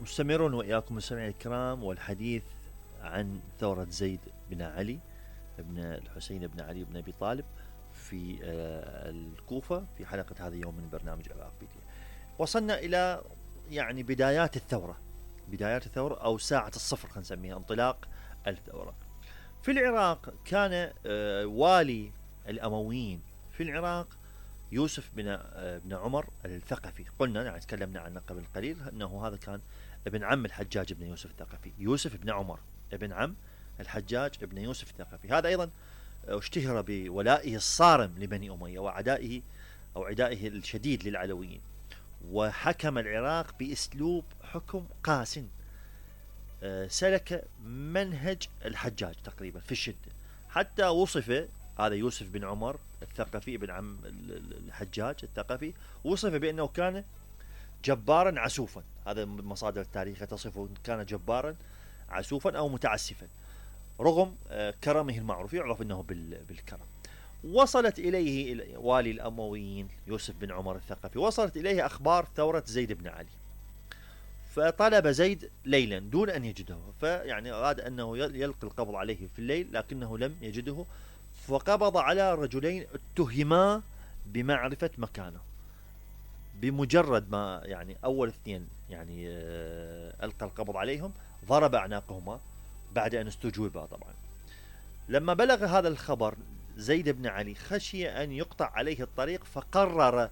مستمرون وإياكم مستمعي الكرام، والحديث عن ثورة زيد بن علي بن الحسين بن علي بن أبي طالب في الكوفة في حلقة هذا اليوم من برنامج العراق بيديا. وصلنا إلى يعني بدايات الثورة أو ساعة الصفر، خلينا نسميها انطلاق الثورة. في العراق كان والي الأمويين في العراق يوسف بن عمر الثقفي. قلنا يعني تكلمنا عنه قبل قليل أنه هذا كان ابن عم الحجاج بن يوسف الثقفي. يوسف بن عمر ابن عم الحجاج بن يوسف الثقفي. هذا أيضا اشتهر بولائه الصارم لبني أمية وعدائه أو عدائه الشديد للعلويين، وحكم العراق بأسلوب حكم قاس. سلك منهج الحجاج تقريبا في الشدة، حتى وصف هذا يوسف بن عمر الثقفي ابن عم الحجاج الثقفي وصف بأنه كان جبارا عسوفا. هذا مصادر التاريخ تصفه كان جبارا عسوفا أو متعسفا، رغم كرمه المعروف، يعرف أنه بالكرم. وصلت إليه والي الأمويين يوسف بن عمر الثقفي، وصلت إليه أخبار ثورة زيد بن علي، فطلب زيد ليلا دون أن يجده، فيعني أراد أنه يلقي القبض عليه في الليل لكنه لم يجده، فقبض على رجلين اتهما بمعرفة مكانه. بمجرد ما يعني أول اثنين يعني ألقى القبض عليهم ضرب أعناقهما بعد أن استجوبا. طبعا لما بلغ هذا الخبر زيد بن علي خشي أن يقطع عليه الطريق، فقرر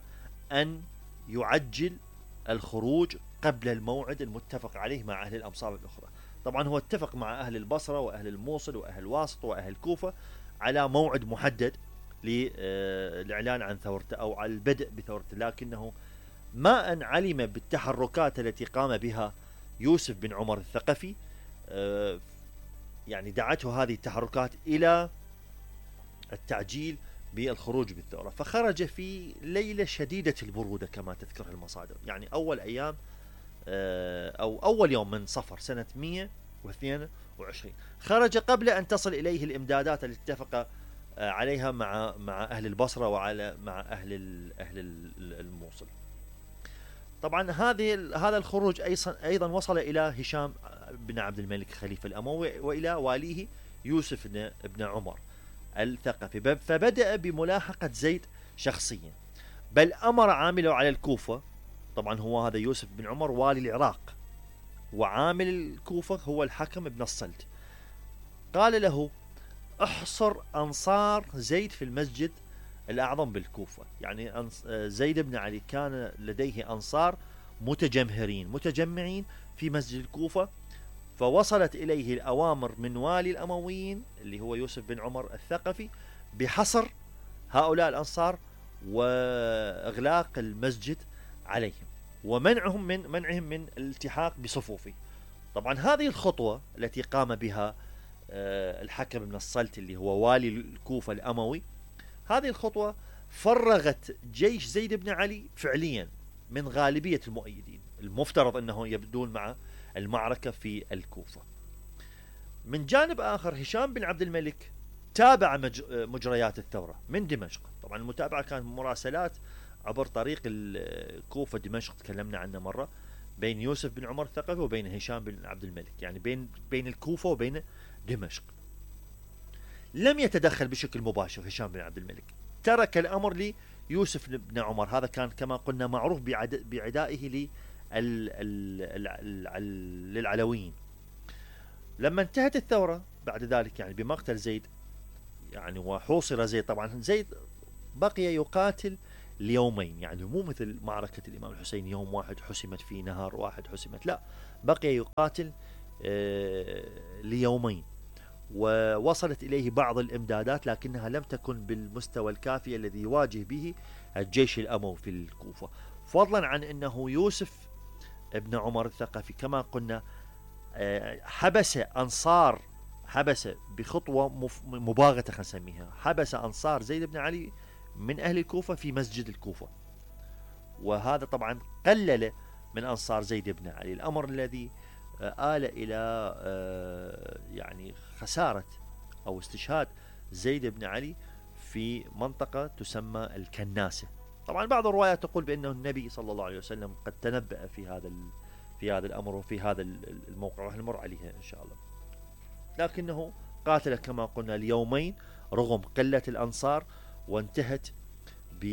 أن يعجل الخروج قبل الموعد المتفق عليه مع أهل الأمصار الأخرى. طبعا هو اتفق مع أهل البصرة وأهل الموصل وأهل واسط وأهل كوفة على موعد محدد للإعلان عن ثورته أو على البدء بثورته، لكنه ما أن علم بالتحركات التي قام بها يوسف بن عمر الثقفي يعني دعته هذه التحركات إلى التعجيل بالخروج بالثورة، فخرج في ليلة شديدة البرودة كما تذكر المصادر. يعني أول أيام أو أول يوم من صفر سنة 122 خرج قبل أن تصل إليه الإمدادات التي اتفق عليها مع أهل البصرة مع أهل الموصل. طبعا هذا الخروج أيضا وصل إلى هشام بن عبد الملك خليفة الأموي وإلى واليه يوسف بن عمر الثقفي، فبدأ بملاحقة زيد شخصيا، بل أمر عامله على الكوفة. طبعا هو هذا يوسف بن عمر والي العراق، وعامل الكوفة هو الحكم بن الصلت. قال له احصر أنصار زيد في المسجد الأعظم بالكوفة. يعني زيد بن علي كان لديه أنصار متجمعين في مسجد الكوفة، فوصلت إليه الأوامر من والي الأمويين اللي هو يوسف بن عمر الثقفي بحصر هؤلاء الأنصار وإغلاق المسجد عليهم ومنعهم من الالتحاق بصفوفه. طبعا هذه الخطوة التي قام بها الحكم بن الصلت اللي هو والي الكوفة الأموي، هذه الخطوة فرغت جيش زيد بن علي فعليا من غالبية المؤيدين المفترض أنه يبدون مع المعركة في الكوفة. من جانب آخر هشام بن عبد الملك تابع مجريات الثورة من دمشق. طبعا المتابعة كانت مراسلات عبر طريق الكوفة دمشق، تكلمنا عنه مرة، بين يوسف بن عمر الثقفي وبين هشام بن عبد الملك، يعني بين الكوفة وبين دمشق. لم يتدخل بشكل مباشر هشام بن عبد الملك، ترك الأمر ليوسف بن عمر. هذا كان كما قلنا معروف بعدائه للعلويين. لما انتهت الثورة بعد ذلك يعني بمقتل زيد يعني وحوصر زيد، طبعا زيد بقي يقاتل ليومين، يعني مو مثل معركة الإمام الحسين يوم واحد حسمت فيه، نهار واحد حسمت، لا، بقي يقاتل ليومين. ووصلت إليه بعض الإمدادات لكنها لم تكن بالمستوى الكافي الذي يواجه به الجيش الأموي في الكوفة، فضلا عن أنه يوسف ابن عمر الثقفي كما قلنا حبس بخطوة مباغتة خلينا نسميها، حبس أنصار زيد بن علي من أهل الكوفة في مسجد الكوفة، وهذا طبعا قلل من أنصار زيد بن علي، الأمر الذي آل إلى يعني خسارة أو استشهاد زيد بن علي في منطقة تسمى الكناسة. طبعا بعض الروايات تقول بأنه النبي صلى الله عليه وسلم قد تنبأ في هذا الأمر وفي هذا الموقع، راح نمر عليها إن شاء الله. لكنه قاتل كما قلنا اليومين رغم قلة الأنصار، وانتهت ب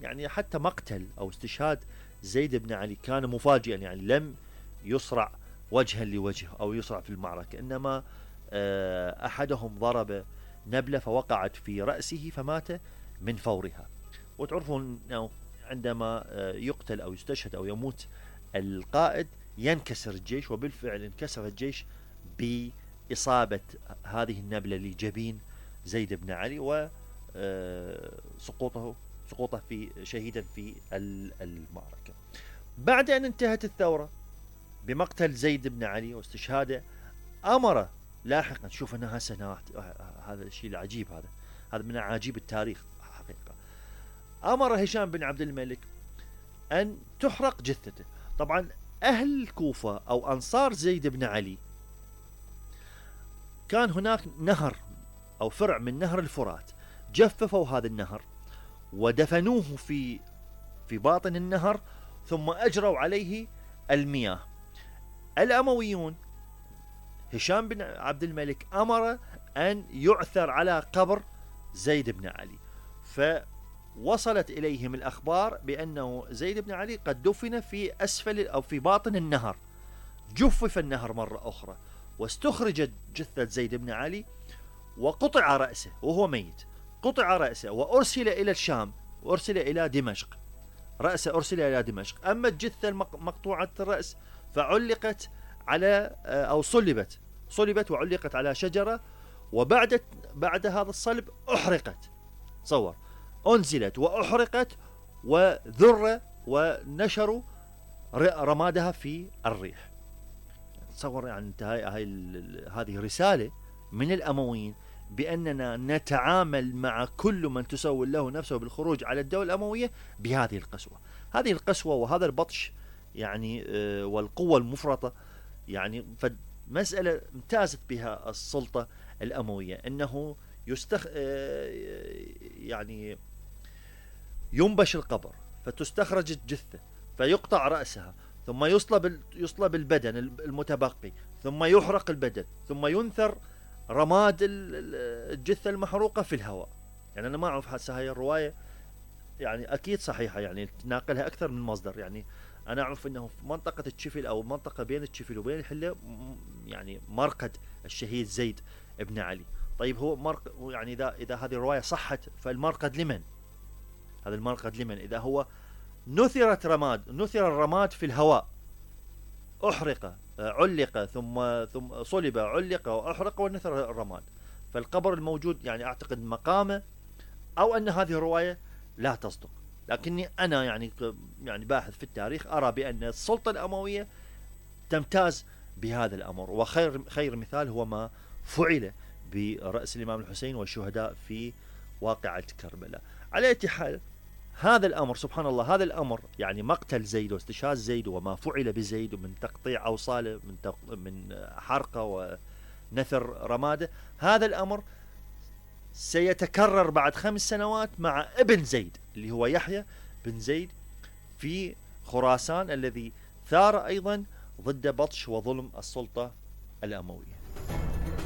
يعني حتى مقتل أو استشهاد زيد بن علي كان مفاجئا، يعني لم يصرع وجها لوجه أو يصرع في المعركة، إنما أحدهم ضرب نبلة فوقعت في رأسه فمات من فورها. وتعرفون أنه عندما يقتل أو يستشهد أو يموت القائد ينكسر الجيش، وبالفعل انكسر الجيش بإصابة هذه النبلة لجبين زيد بن علي، وسقوطه في شهيدا في المعركة. بعد أن انتهت الثورة بمقتل زيد بن علي واستشهاده، أمر لاحقا، شوف أنها سنوات، هذا الشيء العجيب، هذا من عجيب التاريخ حقيقة، أمر هشام بن عبد الملك أن تحرق جثته. طبعا أهل الكوفة أو أنصار زيد بن علي كان هناك نهر أو فرع من نهر الفرات، جففوا هذا النهر ودفنوه في باطن النهر، ثم أجروا عليه المياه. الأمويون هشام بن عبد الملك أمر أن يعثر على قبر زيد بن علي، فوصلت إليهم الأخبار بأنه زيد بن علي قد دفن في أسفل أو في باطن النهر. جفف النهر مرة أخرى واستخرجت جثة زيد بن علي وقطع رأسه وهو ميت، قطع رأسه وأرسل إلى الشام، وأرسل إلى دمشق، رأسه أرسل إلى دمشق. أما الجثة مقطوعة الرأس فعلقت على أو صلبت وعلقت على شجرة، بعد هذا الصلب أحرقت، تصور، أنزلت وأحرقت وذر ونشروا رمادها في الريح. تصور يعني هذه رسالة من الأمويين بأننا نتعامل مع كل من تسول له نفسه بالخروج على الدولة الأموية بهذه القسوة. هذه القسوة وهذا البطش يعني والقوة المفرطة، يعني فمسألة امتازت بها السلطة الأموية، أنه يعني ينبش القبر فتستخرج الجثة فيقطع رأسها، ثم يصلب البدن المتبقي، ثم يحرق البدن، ثم ينثر رماد الجثة المحروقة في الهواء. يعني أنا ما أعرف هسه هاي الرواية يعني أكيد صحيحة، يعني تناقلها أكثر من مصدر. يعني أنا أعرف أنه في منطقة الشفل أو منطقة بين الشفل وبين الحلة يعني مرقد الشهيد زيد بن علي. طيب هو يعني إذا هذه الرواية صحت فالمرقد لمن؟ هذا المرقد لمن إذا هو نثر الرماد في الهواء، أحرق، علق، ثم صلب، علق وأحرق ونثر الرماد، فالقبر الموجود يعني أعتقد مقامه، أو أن هذه الرواية لا تصدق. لكني أنا يعني باحث في التاريخ أرى بأن السلطة الأموية تمتاز بهذا الأمر، وخير مثال هو ما فعل برأس الإمام الحسين والشهداء في واقعة كربلاء. على أي حال هذا الأمر سبحان الله، هذا الأمر يعني مقتل زيد واستشهاد زيد وما فعل بزيد من تقطيع أوصاله من حرقه ونثر رماده، هذا الأمر سيتكرر بعد 5 سنوات مع ابن زيد اللي هو يحيى بن زيد في خراسان، الذي ثار أيضا ضد بطش وظلم السلطة الأموية.